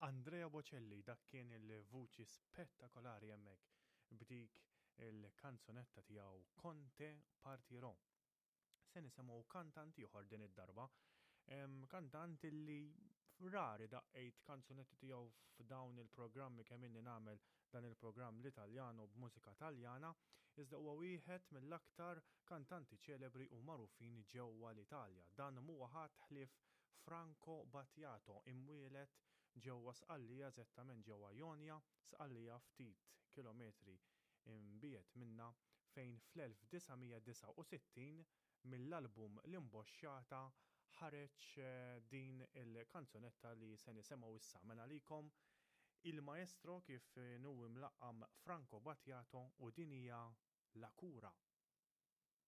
Andrea Bocelli, dak kien il-vuċi spettakolari hemmhekk b'dik il-kanzunetta tiegħu Con te partirò. Se nisimgħu kantant ieħor din id-darba. Kantant li rari daqqejt kanzunetti tiegħu f'dawn il-programmi kemm inni nagħmel dan il-programm l-Italjano b'mużika Taljana, iżda huwa wieħed mill-aktar kantanti ċelebri u magħrufin ġewwa l-Italja. Dan mhuwa ħadd ħlief Franco Battiato, imwieled ġewwa Sqallija, eżattament ġewwa Ionia, Sqallija ftit kilometri imbiegħed minnha, fejn fl-1969 mill-album L-Imboxxata ħareġ din il-kanzunetta li se nisemgħu issa. Mela għalikom Il Maestro kif inhu imlaqqam Franco Battiato u din hija La Cura.